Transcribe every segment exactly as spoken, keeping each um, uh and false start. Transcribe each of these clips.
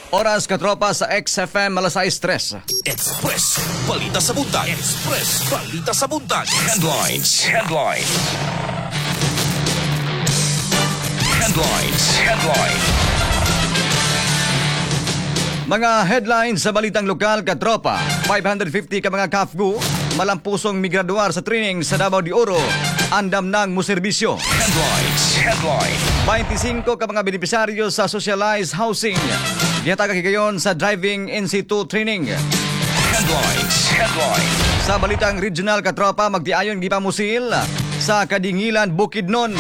Oras, katropa, sa X F M, alas sais tres. Express Balita sa Buntag. Express Balita sa Buntag. Headlines. Headlines. Headlines. Headline. Mga headlines sa balitang lokal, katropa. five hundred fifty ka mga C A F G U malampusong migraduar sa training sa Davao de Oro. Andam ng muserbisyo. Headlines. Headline. twenty-five ka mga benepisaryo sa socialized housing gihatagan higayon sa driving N C two training. Headlines. Headline. Sa balitang regional, katropa, magtiayon gipamusil sa Kadingilan, Bukidnon.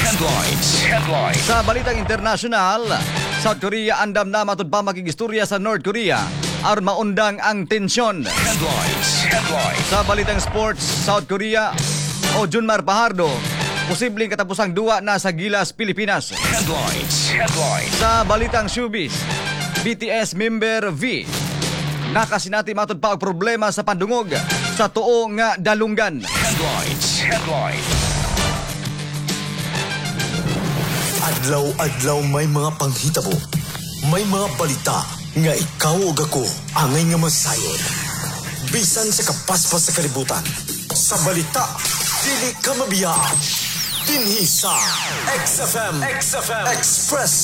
Headlines. Headline. Sa balitang international, South Korea andam na matud pa makigistorya sa North Korea aron maundang ang tensyon. Headlines. Headline. Sa balitang sports, South Korea o June Mar Fajardo, posibleng katapusang duwa na sa Gilas Pilipinas. Headlines. Headline. Sa balitang showbiz, B T S member V nakasinati matud pa og problema sa pandungog sa tuo nga dalunggan. Headlines. Headline. Adlaw-adlaw may mga panghitabo. May mga balita nga ikaw ug ako angay nga masayod. Bisan sa kapaspas sa kalibutan. Sa balita, dili ka mabiyaan. Dinhi sa X F M, X F M Express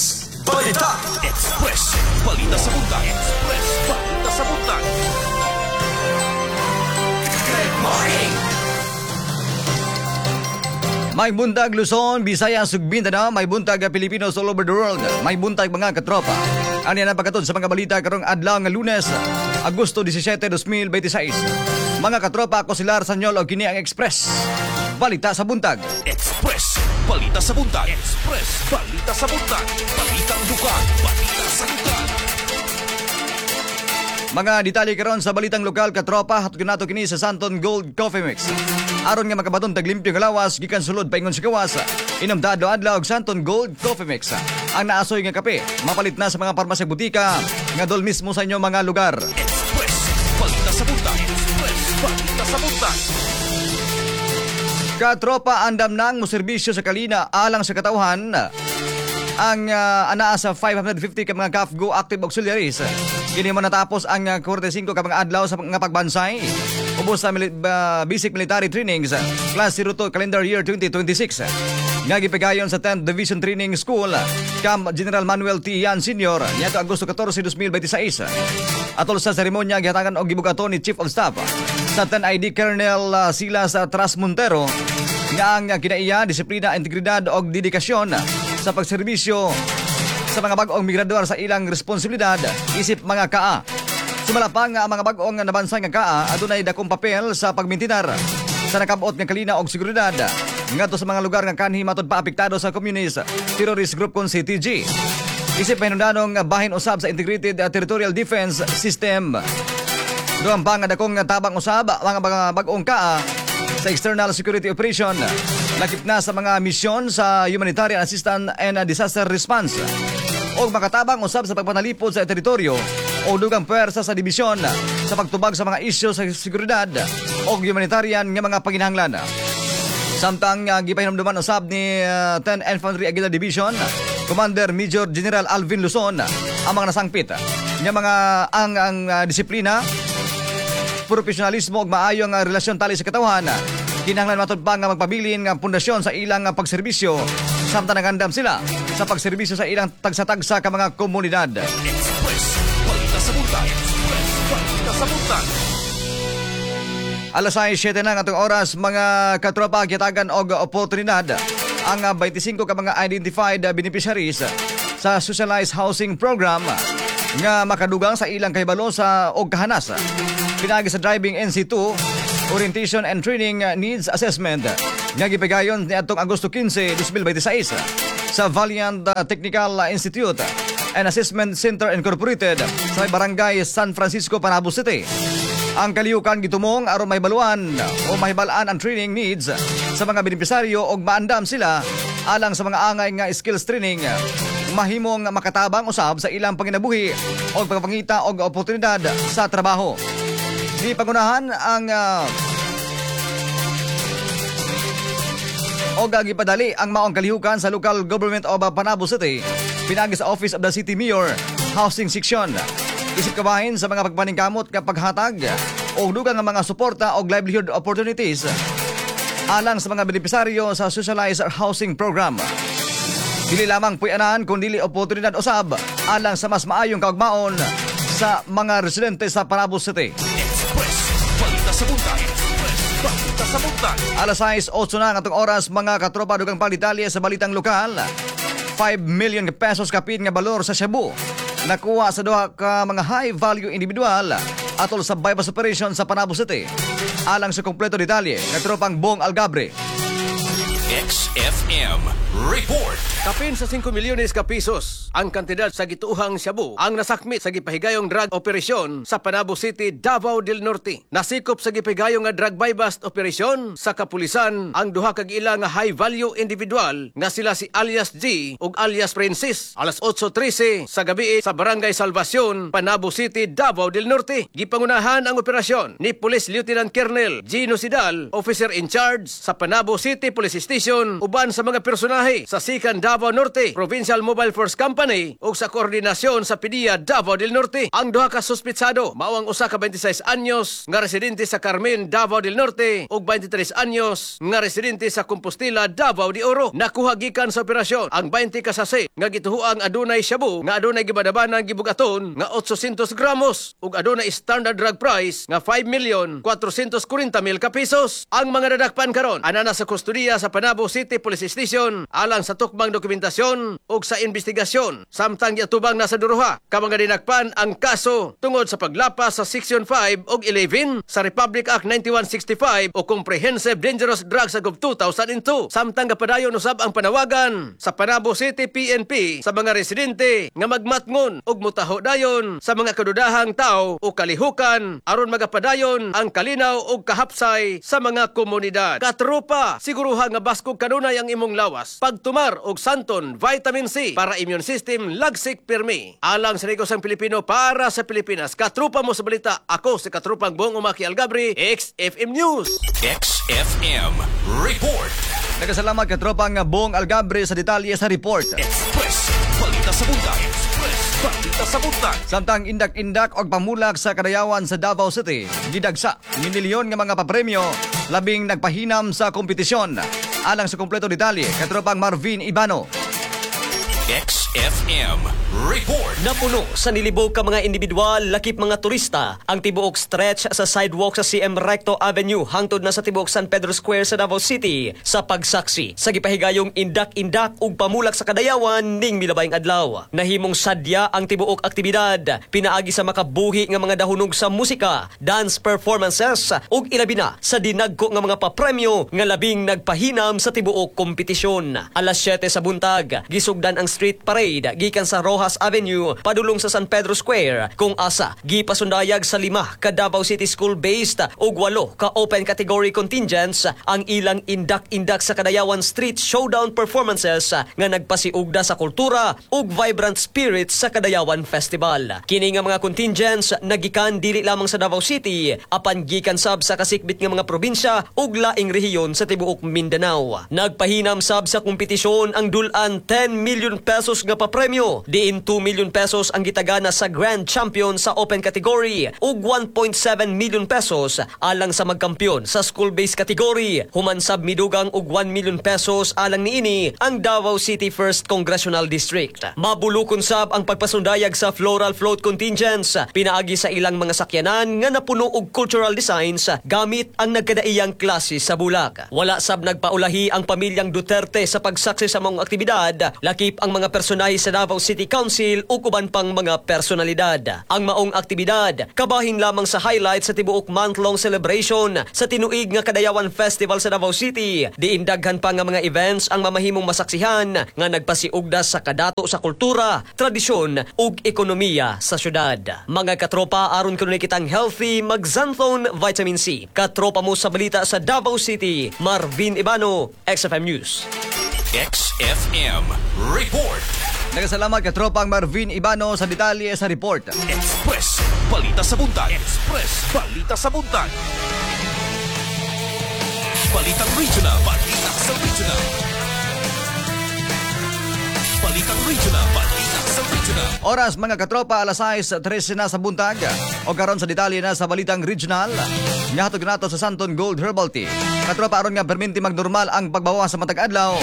Balita. Express Balita sa Buntag. Express Balita sa Buntag. Good morning. May buntag, Luzon, Visayas ug Mindanao, may buntag, Pilipinos all over the world. May buntag, mga katropa. Ani na pagkatod sa mga balita karong adlaw nga Lunes, Agosto labing siyam, dalawang libo bente sais. Mga katropa, ako si Lar Sanyol og kini ang Express Balita sa Buntag. Express Balita sa Buntag. Express Balita sa Buntag. Balitang lokal, balita sa lugar. Mga detalye karon sa balitang lokal, katropa, hatod nato kini sa Santon Gold Coffee Mix. Aron nga makabaton tag limpyo nga lawas gikan sulod paingon sa gawas. Inom ta adlaw-adlaw og Santon Gold Coffee Mix. Ang naasoy nga kape, mapalit na sa mga parmasya, butika nga dol mismo sa inyong mga lugar. Express Balita sa Buntag. Express Balita sa Buntag. Katropa, andam nang moserbisyo sa kalina alang sa katawhan ang uh, anaa sa five hundred fifty ka mga C A F G U active auxiliaries. Kini mo natapos ang uh, forty-five ka mga adlaw sa nga pagbansay ubos sa mili- uh, basic military trainings class zero two calendar year twenty twenty-six nga gipigayon sa tenth Division Training School, Camp General Manuel T. Yan Senior niadto Agosto katorse, dalawang libo bente sais. Atol sa seremonya, gihatagan og gibugaton ni Chief of Staff sa ten I D Colonel uh, Silas uh, Tras Montero nga ang kinaiya, disiplina, integridad og dedikasyon sa pagserbisyo sa mga bag-ong migraduar sa ilang responsibilidad isip mga K A. Sumala pa nga ang mga bag-ong nabansay nga K A adunay dakong papel sa pagmintinar sa nakabot nga kalina og seguridad ngadto sa mga lugar nga kanhi matud pa apektado sa Communist Terrorist Group kon C T G. Isip pahinungdanong bahin usab sa Integrated Territorial Defense System. Dugang pa nga dakong tabang usab mga mga bag-ong K A sa external security operation, lakip na sa mga misyon sa humanitarian assistance and disaster response, o makatabang usab sa pagpanalipod sa teritoryo o dugang puwersa sa dibisyon sa pagtubag sa mga isyu sa seguridad o humanitarian nga mga panginahanglan. Samtang uh, gipahinumduman usab ni uh, ten Infantry Aguila Division Commander Major General Alvin Luzon ang mga nasangpit nga mga ang ang uh, disiplina, profesionalismo ug maayo nga relasyon tali sa katawhan kinahanglan matud pa nga magpabilin nga pundasyon sa ilang nga pagserbisyo samtang nagandam sila sa pagserbisyo sa ilang tagsa-tagsa ka mga komunidad. Express Balita sa Buntag. Express Balita sa Buntag. Alas sais siyete na ang atong oras, mga katropa. Gihatagan og oportunidad ang ah, twenty-five ka mga identified ah, beneficiaries sa Socialized Housing Program nga makadugang sa ilang kahibalo sa og kahanas pinaagi sa Driving N C two Orientation and Training Needs Assessment nga gipigayon niadtong Agosto kinse, dalawang libo bente sais sa Valiant ah, Technical Institute and Assessment Center Incorporated sa may Barangay San Francisco, Panabo City. Ang kalihukan gitumong aron mahibaluan o mahibalaan ang training needs sa mga benepisaryo og maandam sila alang sa mga angay nga skills training, mahimong makatabang usab sa ilang panginabuhi o pagpangita og oportunidad sa trabaho. Di pangunahan ang uh, og gipadali ang maong kalihukan sa local government of Panabo City pinaagi sa Office of the City Mayor. Housing Section. Isip kabahin sa mga pagpaningkamot nga paghatag og dugang nga mga suporta og livelihood opportunities alang sa mga benepisaryo sa Socialized Housing Program. Dili lamang puy-anan kun dili oportunidad usab alang sa mas maayong kaugmaon sa mga residente sa Panabo City. Express Balita sa Buntag. Express Balita sa Buntag. Alas sais otso na ang atong oras, mga katropa, dugang pang detalye sa balitang lokal. five million pesos kapin nga balor sa shabu nakuha sa duha ka mga high value individual atol sa buy-bust operation sa Panabo City. Alang sa kompleto detalye, katropang Bong Algabre. X F M Report. Kapin sa singko milyones ka pesos ang kantidad sa gituohang shabu ang nasakmit sa gipahigayong drug operation sa Panabo City, Davao del Norte. Nasikop sa gipahigayong nga drug buy-bust operation sa kapulisan ang duha ka giila nga high value individual nga sila si alias G ug alias Princess alas otso trese sa gabi sa Barangay Salvacion, Panabo City, Davao del Norte. Gipangunahan ang operasyon ni Police Lieutenant Colonel Gino Sidal, officer in charge sa Panabo City Police Station, uban sa mga personahe sa Sikan Davao Norte Provincial Mobile Force Company ug sa koordinasyon sa P D E A Davao del Norte. Ang duha ka suspitsado mao ang usa ka twenty-six anyos nga residente sa Carmen, Davao del Norte ug twenty-three anyos nga residente sa Compostela, Davao de Oro. Nakuha gikan sa operasyon ang twenty ka sachet nga gituhuang adunay shabu nga adunay gibanabanang gibugaton nga eight hundred gramos ug adunay standard drug price nga five million four hundred forty mil ka pesos. Ang mga nadakpan karon ana na sa kustodiya sa Panabo City Police Station alang sa tukmang dokumentasyon ug sa investigasyon, samtang giatubang na sa duha ka mga dinakpan ang kaso tungod sa paglapas sa Section five ug eleven sa Republic Act ninety-one sixty-five o Comprehensive Dangerous Drugs Act of two thousand two. Samtang gapadayon usab ang panawagan sa Panabo City P N P sa mga residente nga magmatngon ug mutaho dayon sa mga kadudahang tao o kalihukan aron magapadayon ang kalinaw ug kahapsay sa mga komunidad. Katropa, siguruha nga baskog kanunay ang imong lawas. Pagtumar og Santon Vitamin C para immune system lagsik pirmi. Alang sa negosang Pilipino, para sa Pilipinas. Katropa mo sa balita. Ako si Katropang Bong Umaki Algabri, X F M News. X F M Report. Nagkasalamat, katropang Bong Algabre, sa detalye sa report. Express Balita sa Buntag. Express Balita sa Buntag. Samtang indak-indak og pamulak sa kadayawan sa Davao City, gidagsa milyon nga mga papremyo labing nagpahinam sa kompetisyon. Alang sa kompleto detalye, katropang Marvin Ibano. X F M Report. Napuno sa nilibog ka mga individual lakip mga turista ang tibuok stretch sa sidewalk sa C M Recto Avenue hangtod na sa tibuok San Pedro Square sa Davao City sa pagsaksi sa gipahigayong indak-indak ug pamulak sa kadayawan ning milabayng adlaw. Nahimong sadya ang tibuok aktibidad pinaagi sa makabuhi nga mga dahunog sa musika, dance performances ug ilabi na sa dinagko nga mga papremyo nga labing nagpahinam sa tibuok kompetisyon. Alas siyete sa buntag, gisugdan ang street parade gikan sa Roxas Avenue padulong sa San Pedro Square kung asa gipasundayag sa lima ka Davao City School based ug walo ka open category contingents ang ilang indak-indak sa Kadayawan Street Showdown performances nga nagpasiugda sa kultura ug vibrant spirit sa Kadayawan Festival. Kini nga mga contingents nagikan dili lamang sa Davao City apan gikan sab sa kasikbit nga mga probinsya ug laing rehiyon sa tibuok Mindanao. Nagpahinam sab sa kompetisyon ang dulan ten million pesos nga papremyo, diin two million pesos ang gitagana sa Grand Champion sa open category ug one point seven million pesos alang sa magkampiyon sa school-based category. Human sab midugang og one million pesos alang niini ang Davao City First Congressional District. Mabulukon sab ang pagpasundayag sa floral float contingents pinaagi sa ilang mga sakyanan nga napuno og cultural designs gamit ang nagkadaiyang klase sa bulak. Wala sab nagpaulahi ang pamilyang Duterte sa pagsaksi sa mga aktibidad, lakip ang mga personahe sa Davao City Council ug uban pang mga personalidad. Ang maong aktibidad kabahin lamang sa highlight sa tibuok month-long celebration sa tinuig nga Kadayawan Festival sa Davao City. Diin daghan pa nga mga events ang mamahimong masaksihan nga nagpasiugda sa kadato sa kultura, tradisyon ug ekonomiya sa syudad. Mga katropa, aron kuno kitang healthy, mag-Xanthone Vitamin C. Katropa mo sa balita sa Davao City, Marvin Ibano, X F M News. X F M Report. Nagkasalamat, katropang Marvin Ibano, sa detalye sa report. Express Balita sa Buntag. Express Balita sa Buntag. Balitang Regional. Balita sa Regional. Balitang Regional. Balita Sa regional. Oras, mga katropa, alas sais trese na sa buntag. O karon sa detalye na sa balitang regional. Nihatod nato sa Santon Gold Herbal Tea. Katropa, aron nga perminti magnormal ang pagbawa sa matag adlaw,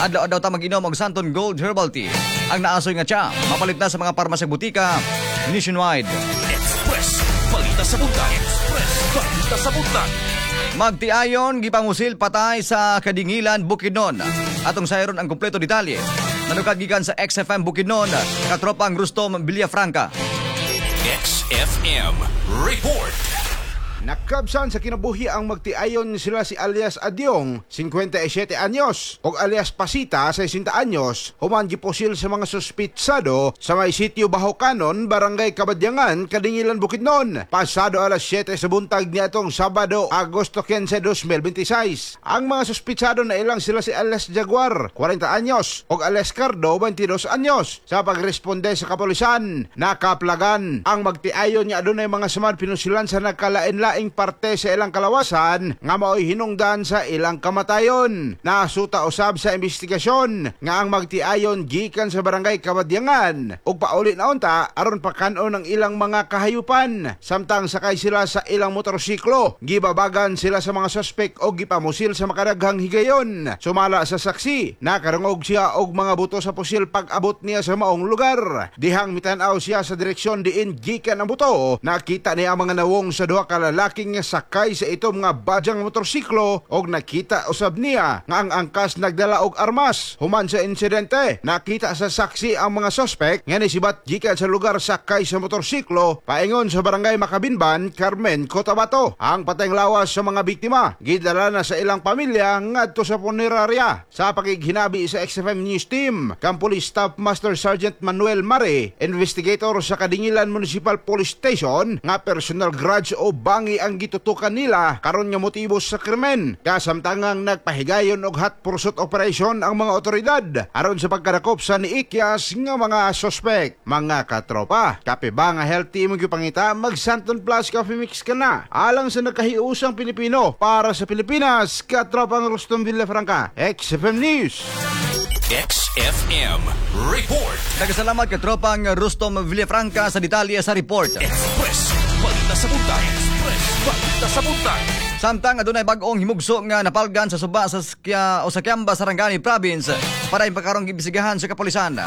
adlaw-adlaw ta mag-inom og Santon Gold Herbal Tea. Ang naasoy nga tsa, mapalit na sa mga parmasya, butika nationwide. Express Balita sa Buntag. Express Balita sa Buntag. Magtiayon gipamusil patay sa Kadingilan, Bukidnon. Atong sayron ang kumpleto detalye. Nanukad gikan sa X F M Bukidnon, katropang Rustom Villafranca. X F M Report. Nakabsan sa kinabuhi ang magtiayon sila si alias Adyong, singkwenta y siyete anyos, o alias Pasita, sesenta anyos, human gipusil sa mga suspitsado sa may sitio Bahokanon, Barangay Kabadyangan, Kadingilan, Bukidnon. Pasado alas siyete sa buntag niadtong Sabado, Agosto kinse, dos mil bente y sais. Ang mga suspitsado na ilang sila si alias Jaguar, kwarenta anyos, o alias Cardo, beinte dos anyos. Sa pagresponde sa kapulisan, nakaplagan ang magtiayon nga adunay mga samad pinusilan sa nagkalain-laing parte sa ilang kalawasan nga maoy hinungdan sa ilang kamatayon. Nasuta usab sa investigasyon nga ang magtiayon gikan sa Barangay Kabadyangan ug pauli na unta aron pakan-on ang ilang mga kahayupan. Samtang sakay sila sa ilang motorsiklo, gibabagan sila sa mga suspek o gipamusil sa makadaghang higayon. Sumala sa saksi, nakarungog siya og mga buto sa pusil pag-abot niya sa maong lugar. Dihang mitan-aw siya sa direksyon diin gikan ang buto, nakita niya ang mga nawong sa duha ka lalaking nga sakay sa itom nga badyang motorsiklo og nakita usab niya nga ang angkas nagdala og armas. Human sa insidente, nakita sa saksi ang mga suspek nga nisibat gikan sa lugar sakay sa motorsiklo paingon sa Barangay Makabinban, Carmen, Cotabato. Ang patayng lawas sa mga biktima gidala na sa ilang pamilya ngadto sa punerarya. Sa pakighinabi sa X F M News Team, kang Police Staff Master Sergeant Manuel Mare, investigator sa Kadingilan Municipal Police Station, nga personal grudge o bangi ang gitutukan nila karon nga motibo sa krimen. Kasamtangang nagpahigayon og hot pursuit operation ang mga otoridad aron sa pagkadakop sa niikyas nga mga suspect. Mga katropa, kape ba nga healthy imong gipangita? Mag Santon Plus Coffee Mix ka na. Alang sa nagkahiusang Pilipino, para sa Pilipinas, katropang Rustom Villafranca, X F M News. X F M Report. Nagkasalamat katropang Rustom Villafranca sa detalye sa report. Express Balita sa Buntag. Express Balita sa Buntag. Samtang adunay bag-ong himugso nga napalgan sa suba sa Skia, o sa Kiamba, Sarangani Province para ipakarong giimbestigahan sa kapulisan.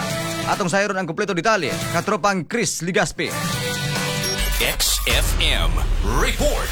Atong sayron ang kumpleto detalye, katropang Chris Ligaspi. X F M Report.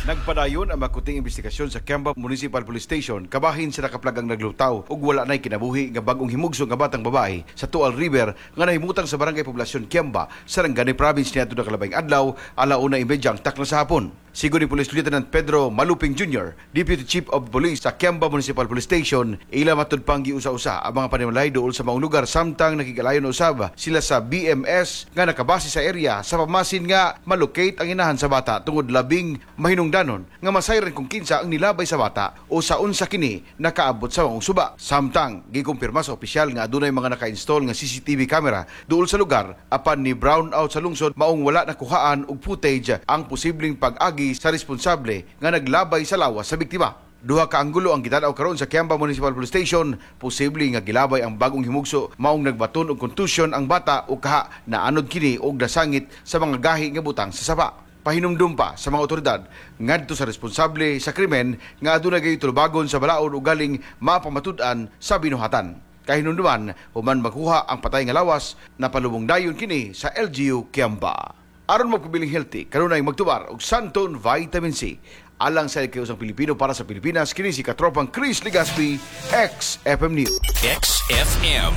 Nagpadayon ang makuting investigasyon sa Kiamba Municipal Police Station kabahin sa nakaplagang naglutaw ug wala nay kinabuhi nga bag-ong himugso nga batang babae sa Tual River nga nahimutang sa Barangay Poblasyon Kiamba, Sarangani Province niadto nakalabing adlaw, alauna imedya ang takna sa hapon. Sigon ni Police Lieutenant Pedro Maluping Junior, Deputy Chief of Police sa Kiamba Municipal Police Station, ila matud pang giusa-usa ang mga panimalay duol sa maong lugar samtang nakigalayon usab sila sa B M S nga nakabase sa area sa pamasin nga malocate ang inahan sa bata tungod labing mahinungdanon nga masayran kung kinsa ang nilabay sa bata o sa unsa kini nakaabot sa maong suba. Samtang gikumpirma sa opisyal nga adunay mga naka-install nga C C T V camera duol sa lugar, apan ni brown out sa lungsod, maong wala nakuhaan og footage ang posibleng pag-agi sa responsable nga naglabay sa lawas sa biktima. Duha ka anggulo ang gitan-aw karon sa Kiamba Municipal Police Station, posible nga gilabay ang bagong himugso maong nagbaton og contusion ang bata o kaha naanod kini og nasangit sa mga gahi nga butang sa sapa. Pahinumdum pa sa mga otoridad ngadto sa responsable sa krimen nga adunay gayoy tulubagon sa balaod o galing mapamatud-an sa binuhatan. Kahinumduman, human makuha ang patay nga lawas, napalubong dayon kini sa L G U Kiamba. Aron magpabiling healthy, kanunay magtubar og Santon Vitamin C. Alang sa usang Pilipino, para sa Pilipinas, kini si katropang Chris Ligaspi, X F M News. X F M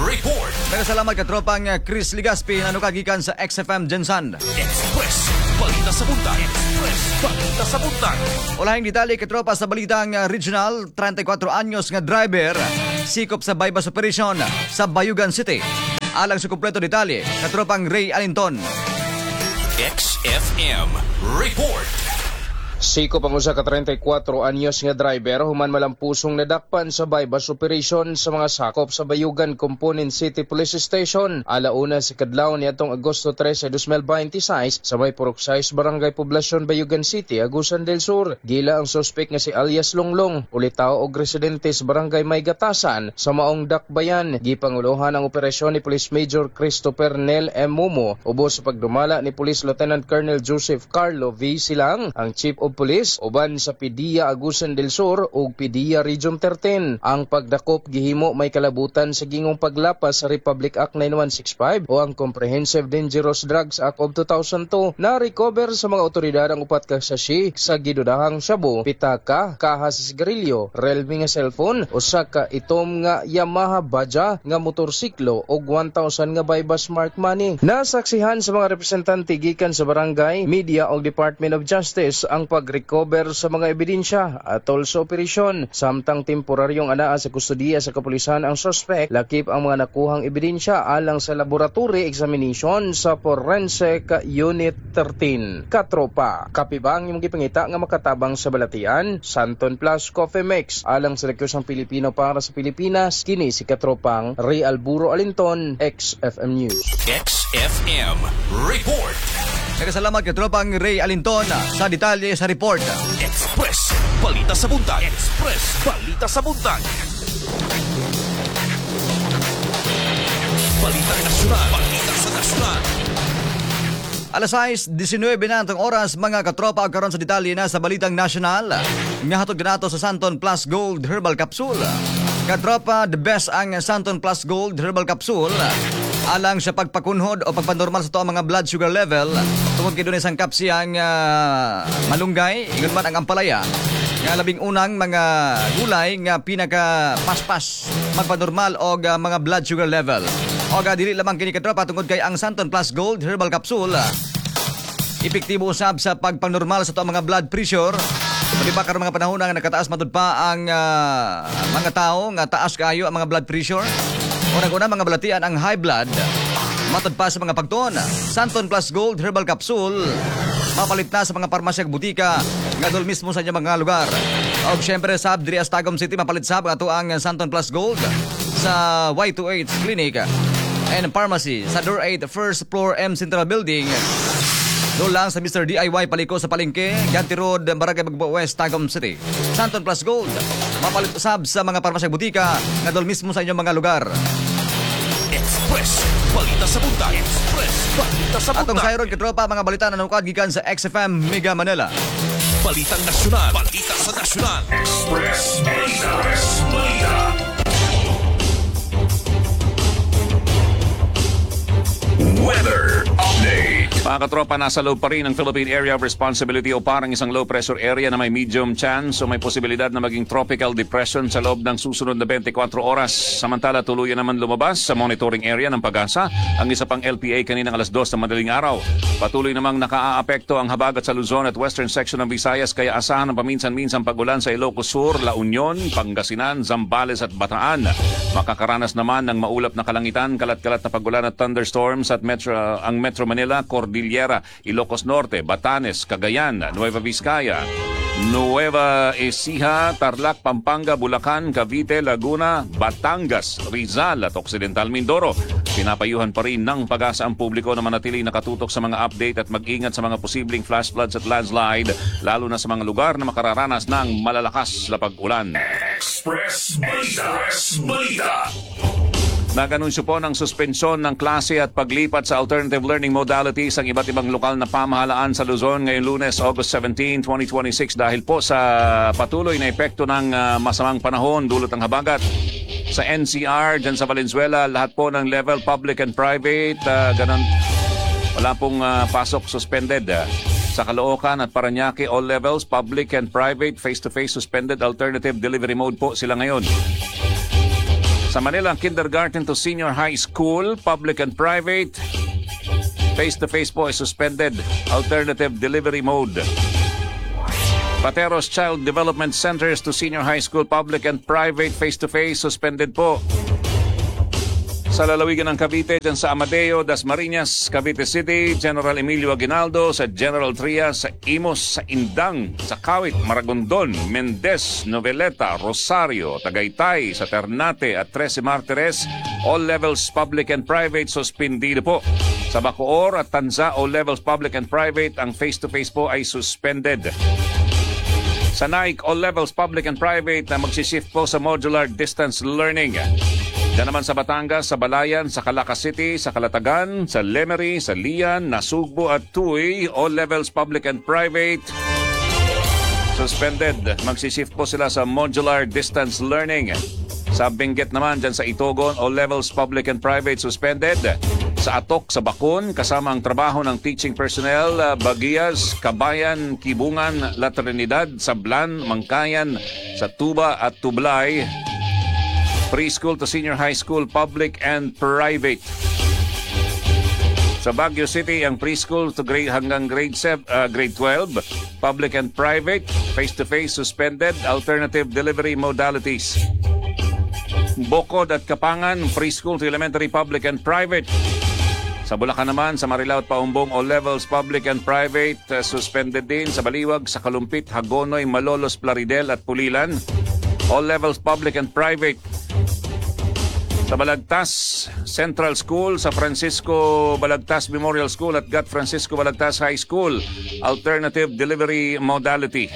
Report. Nagkasalamat katropang Chris Ligaspi na gikan sa X F M GenSan. Express Balita sa Buntag. Express Balita sa Buntag. Ulahing detalye, katropa, sa balitang uh, regional, trenta'y kwatro anyos nga driver sikop sa buy-bust operation sa Bayugan City. Alang sa kumpleto detalye, katropang Ray Alinton. X F M Report. Sikop ang usa ka trenta'y kwatro anyos nga driver human malampusong nadakpan sa buy-bust operation sa mga sakop sa Bayugan Component City Police Station. Alauna sa kadlawon niadtong Agosto tres, dos mil bente sais sa may Purok sais, Barangay Poblacion, Bayugan City, Agusan del Sur. Gila ang suspect nga si alias Longlong, ulitaw og residente sa Barangay Maygatasan sa maong dakbayan. Gipanguluhan ang operasyon ni Police Major Christopher Nel M. Mumo ubos sa pagdumala ni Police Lieutenant Colonel Joseph Carlo V. Silang, ang Chief of Police uban sa P D E A Agusan del Sur ug P D E A Region thirteen. Ang pagdakop gihimo may kalabutan sa gingong paglapas sa Republic Act nine one six five o ang Comprehensive Dangerous Drugs Act of two thousand two. Na-recover sa mga otoridad ang upat ka sachet sa gidudahang shabu, pitaka, kaha sa sigarilyo, Realme nga cellphone, usa ka itom nga Yamaha Baja nga motorsiklo ug one thousand nga buy-bust mark money. Nasaksihan sa mga representante gikan sa barangay, media ug Department of Justice ang pag-recover sa mga ebidensya atol sa operasyon. Samtang temporaryong anaa sa kustodiya sa kapulisan ang suspect, lakip ang mga nakuhang ebidensya alang sa laboratory examination sa Forensic Unit thirteen. Katropa, kape ba ang imong gipangita nga makatabang sa balatian? Santon Plus Coffee Mix, alang sa Rekusang Pilipino para sa Pilipinas, kini si Katropang Ray Alburo Alinton, X F M News. X F M Report. Nagkasalamat kay Tropang Ray Alinton sa detalye sa report. Express Balita sa Buntag. Express Balita sa Buntag. Balita Nasyonal. Balita sa Nasyonal. Alas sais nisinuybe na atong oras, mga katropa, karon sa detalye na sa Balitang Nasyonal. Nga hatod kanato sa Santon Plus Gold Herbal Capsule. Katropa, the best ang Santon Plus Gold Herbal Capsule alang sa pagpakunhod o pagpanormal sa ato ang mga blood sugar level tungod kay dunay sangkap siyang ah, malunggay, ingon man ang ampalaya nga labing unang mga gulay nga pinaka paspas magpanormal og ah, mga blood sugar level. Og ah, dili lamang kini, katropa, tungod kay ang Santon Plus Gold Herbal Capsule ah, epektibo usab sa pagpanormal sa ato ang mga blood pressure. Di ba karon mga panahon nga nakataas matud pa ang ah, mga tao nga taas kaayo ang mga blood pressure? Unang-una, mga balatian ang high blood. Matod pa sa mga pagtuon, Santon Plus Gold Herbal Capsule mapalit na sa mga parmasya ug butika nga dol mismo sa inyong mga lugar. Og syempre sab diri sa Tagum City mapalit sab ato ang Santon Plus Gold sa Y two H Clinic and Pharmacy sa Door eight, first floor, M Central Building. Doon lang sa Mister D I Y Paliko sa Palengke, Ganti Road, Barangay Magbo West, Tagum City. Santon Plus Gold, mapalit usab sa mga parmasya, butika nga doon mismo sa inyong mga lugar. Express Balita sa Buntag. Express Balita sa Atong Buntag. sayron, katropa, mga balita na nukad gikan sa X F M Mega Manila. Balitang Nasyonal. Balita sa Nasyonal. Express Balita. Express Balita. Weather Update. Mga katropa, nasa loob pa rin ng Philippine Area of Responsibility o parang isang low pressure area na may medium chance o may posibilidad na maging tropical depression sa loob ng susunod na twenty-four oras. Samantala, tuluyan naman lumabas sa monitoring area ng PAGASA ang isa pang L P A kaninang alas dos ng madaling araw. Patuloy namang nakaaapekto ang habagat sa Luzon at western section ng Visayas, kaya asahan ang paminsan-minsang pagulan sa Ilocos Sur, La Union, Pangasinan, Zambales at Bataan. Makakaranas naman ng maulap na kalangitan, kalat-kalat na pagulan at thunderstorms at Metro, ang Metro Manila, Cordillera, Ilocos Norte, Batanes, Cagayan, Nueva Vizcaya, Nueva Ecija, Tarlac, Pampanga, Bulacan, Cavite, Laguna, Batangas, Rizal at Occidental Mindoro. Pinapayuhan pa rin ng PAGASA ang publiko na manatiling nakatutok sa mga update at mag-ingat sa mga posibleng flash floods at landslide, lalo na sa mga lugar na makararanas ng malalakas na pag-ulan. Express Balita. Express Balita. Nag-anunsyo po ng suspensyon ng klase at paglipat sa alternative learning modalities ang iba't ibang lokal na pamahalaan sa Luzon ngayong Lunes, August seventeen, twenty twenty-six dahil po sa patuloy na epekto ng ah, masamang panahon dulot ng habagat. Sa N C R, dyan sa Valenzuela, lahat po ng level, public and private, uh, ganun, wala pong ah, pasok, suspended. ah. Sa Caloocan at Paranaque, all levels, public and private, face-to-face suspended, alternative delivery mode po sila ngayon. Sa Manila, kindergarten to senior high school, public and private, face-to-face po ay suspended, alternative delivery mode. Pateros Child Development Centers to senior high school, public and private, face-to-face, suspended po. Sa lalawigan ng Cavite, dyan sa Amadeo, Dasmariñas, Cavite City, General Emilio Aguinaldo, sa General Trias, sa Imus, sa Indang, sa Kawit, Maragondon, Mendez, Noveleta, Rosario, Tagaytay, sa Ternate at Trece Martires, all levels public and private, suspendido po. Sa Bacoor at Tanza, all levels public and private, ang face-to-face po ay suspended. Sa Naic, all levels public and private na magsishift po sa modular distance learning. Diyan naman sa Batangas, sa Balayan, sa Calaca City, sa Calatagan, sa Lemery, sa Lian, Nasugbu at Tuy, all levels public and private suspended. Magsishift po sila sa modular distance learning. Sa Benguet naman, dyan sa Itogon, all levels public and private suspended. Sa Atok, sa Bakun, kasama ang trabaho ng teaching personnel, uh, Baguias, Kabayan, Kibungan, La Trinidad, Sablan, Mangkayan, sa Tuba at Tublay. Preschool to senior high school, public and private. Sa Baguio City, ang preschool to grade hanggang grade seven, uh, grade twelve, public and private, face-to-face suspended, alternative delivery modalities. Bokod at Kapangan, preschool to elementary, public and private. Sa Bulacan naman, sa Marilao at Paombong, all levels, public and private, uh, suspended din. Sa Baliwag, sa Calumpit, Hagonoy, Malolos, Plaridel at Pulilan, all levels, public and private. Sa Balagtas Central School, sa Francisco Balagtas Memorial School at Gat Francisco Balagtas High School, alternative delivery modality.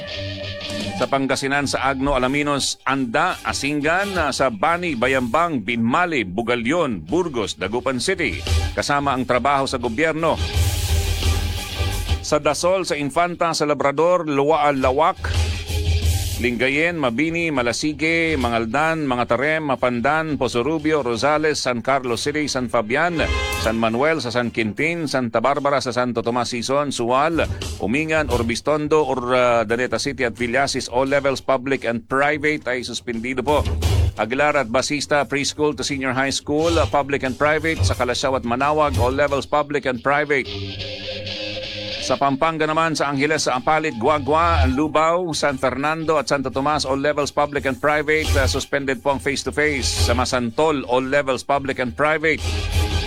Sa Pangasinan, sa Agno, Alaminos, Anda, Asingan, sa Bani, Bayambang, Binmaley, Bugallon, Burgos, Dagupan City, kasama ang trabaho sa gobyerno. Sa Dasol, sa Infanta, sa Labrador, Luwaal, Laoac, Lingayen, Mabini, Malasiqui, Mangaldan, Mangatarem, Mapandan, Pozorrubio, Rosales, San Carlos City, San Fabian, San Manuel, sa San Quintin, Santa Barbara, sa Santo Tomas Sison, Sual, Umingan, Urbiztondo, Urdaneta City at Villasis, all levels public and private ay suspendido po. Aguilar at Basista, preschool to senior high school, public and private. Sa Calasiao at Manaoag, all levels public and private. Sa Pampanga naman, sa Angeles, sa Apalit, Guagua, Lubao, San Fernando at Santo Tomas, all levels public and private, uh, suspended po ang face-to-face. Sa Masantol, all levels public and private,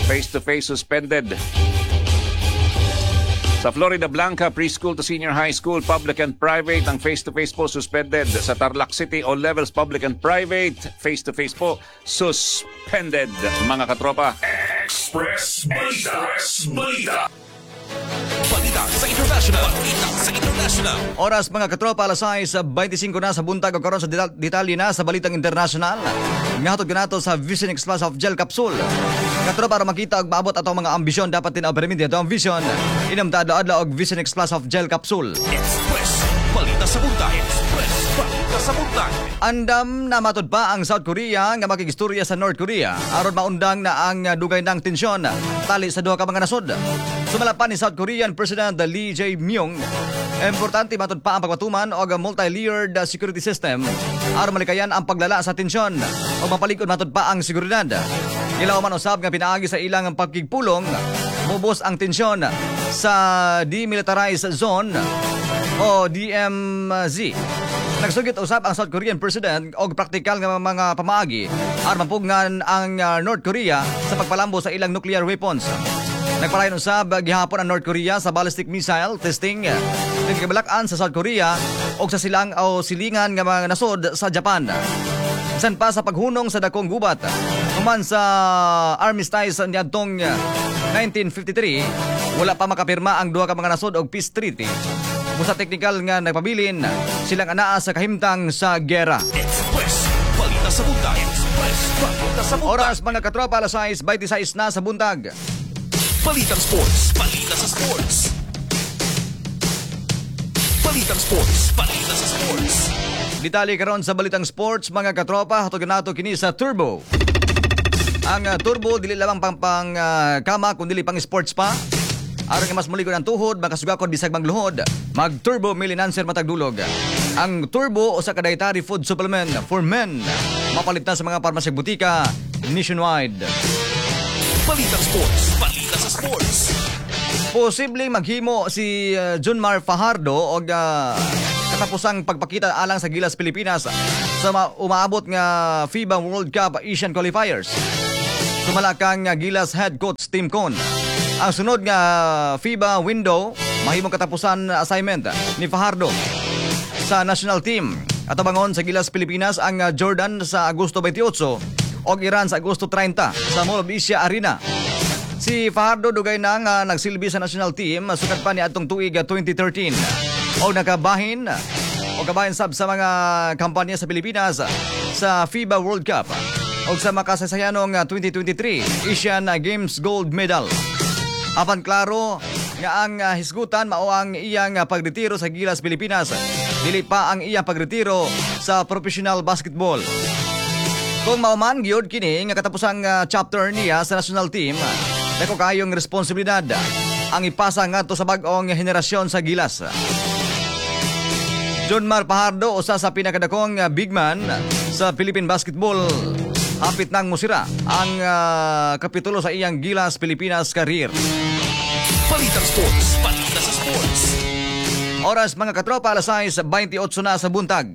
face-to-face suspended. Sa Floridablanca, preschool to senior high school, public and private, ang face-to-face po suspended. Sa Tarlac City, all levels public and private, face-to-face po suspended, mga katropa. Express Balita. Express Balita. Balita sa International. Balita sa International. Oras, mga katropa, alas sais bintisiingko na sa buntag o karon sa detal- detalye na sa balitang international. Ngahatod kanato sa Vision X Plus of Gel Capsule. Katropa, para makita og maabot atong mga ambisyon, dapat din perminti ato ang vision. Inom ta adlaw-adlaw og Vision X Plus of Gel Capsule. Express Balita sa buntag. Express Balita sa buntag. Andam na matud pa ang South Korea nga makigistorya sa North Korea aron maundang na ang dugay ng tensyon tali sa duha ka mga nasod. Sumala pa ni South Korean President Lee Jae-myung, importante matud pa ang pagpatuman og multi-layered security system aron malikayan ang paglala sa tensyon o mapalig-on matud pa ang seguridad. Gilaw man usab nga pinaagi sa ilang pagkigpulong mubos ang tensyon sa Demilitarized Zone o D M Z. Nagsugit usab ang South Korean President og praktikal nga mga pamaagi aron mapugngan ang uh, North Korea sa pagpalambo sa ilang nuclear weapons. Nagpalayon usab gihapon ang North Korea sa ballistic missile testing nga gibalak-an sa South Korea og sa silang o silingan nga mga nasod sa Japan. Bisan pa sa paghunong sa dakong gubat human sa armistice niadtong nineteen fifty-three, wala pa makapirma ang duha ka mga nasod og peace treaty. Busa teknikal nga nagpabilin silang anaa sa kahimtang sa gera. Express Balita sa buntag. Express Balita sa buntag. Oras, mga katropa, alas sais bintisiais na sa buntag. Balitang Sports. Balita sa Sports. Balitang Sports. Balita sa Sports. Detalye karon sa Balitang Sports, mga katropa, hatod nato kini sa Turbo. Ang uh, Turbo dili lamang pang pang uh, kama kundi pang sports pa. Aron nga mas muligon ang tuhod, makasugakod bisag magluhod, mag Turbo Male Enhancer matag dulog. Ang Turbo usa ka dietary food supplement for men. Mapalit na sa mga parmasya, butika nationwide. Balitang Sports. Balita sa Sports. Posibleng maghimo si uh, Junmar Fajardo og uh, katapusang pagpakita alang sa Gilas Pilipinas sa ma- umaabot nga FIBA World Cup Asian Qualifiers. Sumala kang Gilas head coach Tim Cone. Ang sunod nga FIBA window mahimong katapusan assignment ni Fajardo sa national team. Atabangon sa Gilas Pilipinas ang Jordan sa Agosto twenty-eight o Iran sa Agosto thirty sa Mall of Asia Arena. Si Fajardo dugay na nga nagsilbi sa national team sukad pa ni atong tuig twenty thirteen. O nakabahin o kabahin sab sa mga kampanya sa Pilipinas sa FIBA World Cup o sa makasaysayanong twenty twenty-three Asian Games gold medal. Apan klaro nga ang hisgutan mao ang iyang pagretiro sa Gilas Pilipinas, dili pa ang iyang pagretiro sa professional basketball. Kung mao man gyud kini nga katapusang chapter niya sa national team, dako kayong responsibilidad ang ipasa ngadto sa bag-ong henerasyon sa Gilas. June Mar Fajardo, usa sa pinakadakong big man sa Philippine basketball, hapit nang musira ang uh, kapitulo sa iyang Gilas Pilipinas career. Balitang Sports, balita sa sports. Oras, mga katropa, alas six twenty-eight na sa buntag.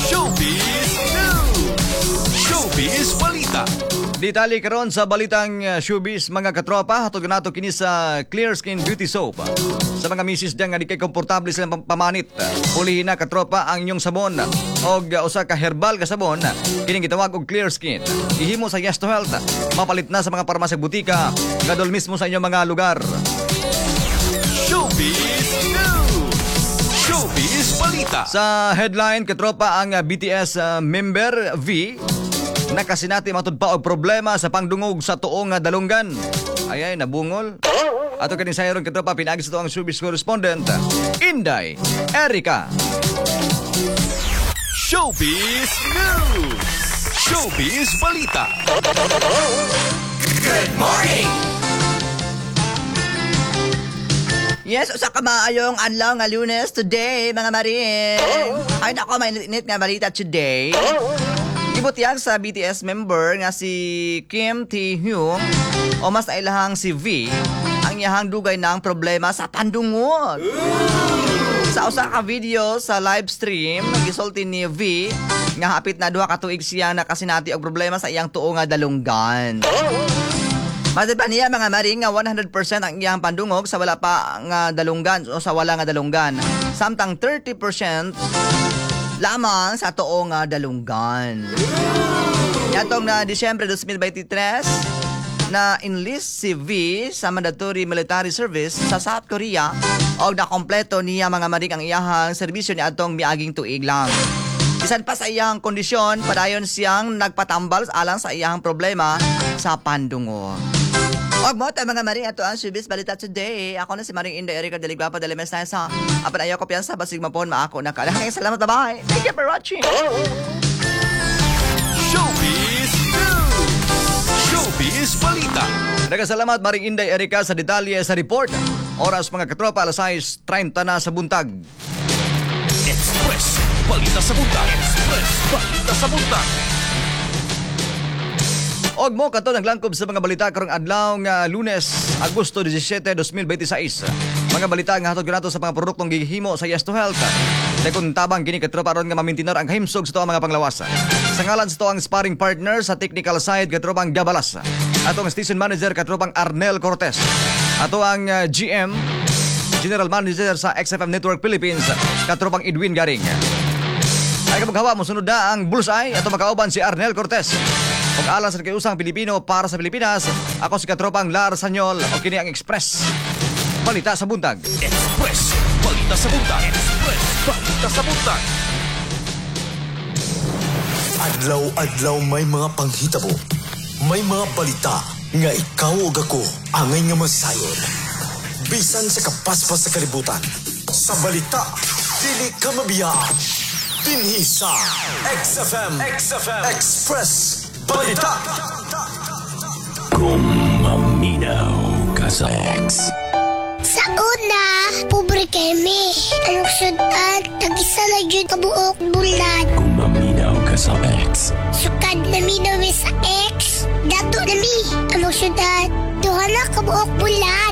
Showbiz News. Showbiz Balita. Detalye karon sa balitang uh, showbiz, mga katropa, hatod nato kini sa Clear Skin Beauty Soap. Sa mga misis diyan nga di kay komportable silang pamanit, pulihin na, katropa, ang inyong sabon og uh, usa ka herbal ka sabon kining gitawag og Clear Skin. Gihimo sa Yes to Health. Mapalit na sa mga parmasya, butika, ngadol mismo sa inyong mga lugar. Showbiz News. Showbiz Balita. Sa headline, katropa, ang B T S uh, member V nakasinati matud pa og problema sa pangdungog sa tuong dalunggan. Ay ay, nabungol. Ato kini sayron, katropa, pinaagi sa tuang showbiz correspondent Inday Erica. Showbiz News. Showbiz Balita. Good morning. Yes, usa ka maayong adlaw nga Lunes today, mga maring. Ay nako, may init nga balita today. Gibutyag sa B T S member nga si Kim Tae-hyung o mas nailahang si V ang iyahang dugay ng problema sa pandungog. Sa usa ka video sa live stream, gisulti ni V nga hapit na duha ka tuig siya nakasinati og problema sa iyang tuo nga dalunggan. Matod pa niya, mga maring, nga one hundred percent ang iyang pandungog sa wala pa nga dalunggan o sa wala nga dalunggan. Samtang thirty percent lamang sa tuo nga dalunggan. Yatong na Disyembre twenty twenty-three na enlist si V sa mandatory military service sa South Korea o nakompleto niya, mga maring, ang iyahang serbisyo ni atong miaging tuig lang. Bisan pa sa iyang kondisyon, padayon siyang nagpatambal alang sa iyang problema sa pandungog. Og mo tayo, mga maring, ato ang showbiz balita today. Ako na si Maring Inday Erika Deligwapa de Lemesa. Apan ayaw ko piyansa, basig mapon maako na ka. Salamat, bye. Thank you for watching. Showbiz News. Showbiz Balita. Nagkasalamat, Maring Inday Erika, sa detalye sa report. Oras, mga katropa, alas six thirty na sa buntag. Express Balita sa Buntag. Express Balita sa Buntag. Og mo kato naglangkob sa mga balita karong adlaw nga Lunes, Agosto seventeen, twenty twenty-six. Mga balita nga hatod kanato sa mga produktong gihimo sa Yes to Health. Dakong tabang kini, katropa, aron nga mamintinar ang kahimsog sa tuang mga panglawas. Sa ngalan sa tuang sparring partner sa technical side, katropang Gabalas. Atong station manager, katropang Arnel Cortez. Ato ang uh, G M, General Manager sa X F M Network Philippines, katropang Edwin Garing. Ay kamaghawa mo sunod na ang Bullseye ato makauban si Arnel Cortez. Ug alang sa usang Pilipino para sa Pilipinas, ako si katropang Lar Sanyol o kini ang Express Balita sa Buntag. Express Balita sa Buntag. Express Balita sa Buntag. Adlaw-adlaw may mga panghitabo. May mga balita nga ikaw ug ako angay nga masayod. Bisan sa kapaspas sa kalibutan. Sa balita, dili ka mabiyaan. Dinhi sa X F M, X F M Express Balita. Kung maminaw ka sa X. Sa una, pobre kami. Ang sudan, tag-isa na jud kabuok bulan. Kung maminaw ka sa X. Sukad nami nami sa X, dato nami. Ang sudan, duha na kabuok bulan.